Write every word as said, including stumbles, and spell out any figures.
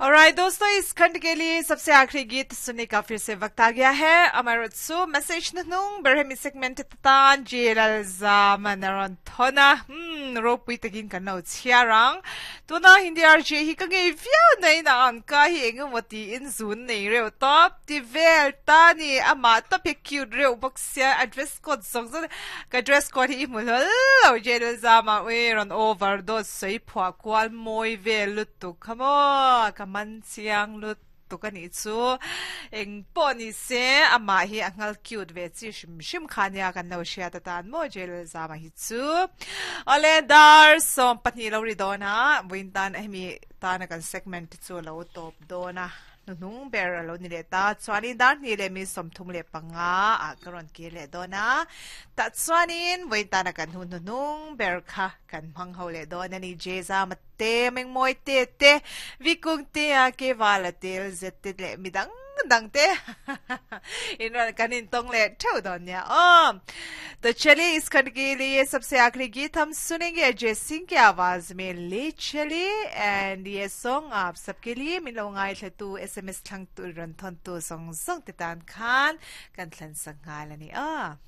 Alright दोस्तों, इस खंड के लिए सबसे आखिरी गीत सुनने का फिर से वक्त आ गया है। अमर सु मैसेज नुंग berhemi segment tan jelal zamanaron thona hmm ropui takin kan no chiarang tuna Hindi R J hi ka ngei viau nei na an ka hi engemoti in zun nei reuh tawp ti vel ta ni ama top hi cute reuh bawk sia, a dress code zawng zawng ka dress code hi i hmu hlawl lo jelal zama ui rawn overdose sawi phuah kual mawi vel lutuk kha maw ka man chiang lutuk ani chu. Eng pawh ni se, amah hi a ngal cute ve chi hrim hrim kha nia kan lo hriat atan maw jelal zama hi chu. Awle, dar sawm pahnih lo ri dawn a, vawiin tan hemi tana kan segment chu lo tawp dawn a, hnuhnung ber a lo ni leh ta. Chuanin dar hnih leh mi sawmthum leh panga ah ka rawn kir leh dawn a, tah chuanin vawiin tana kan hun hnuhnung ber kha kan hmang ho leh dawn ani. Jeza mate mengmawi te te vikung te a ke wala tel zet te leh midang dang te in kan in tong ले ठेव dawn nia ओ। तो चलिए, इस खंड के लिए सबसे आखिरी गीत हम सुनेंगे अजय सिंह की आवाज में, ले चले। एंड ये सॉन्ग आप सबके लिए मिलो ngai thla S M S thlang tu ron thon tu song song te tan khan kan thlan sangal ani a.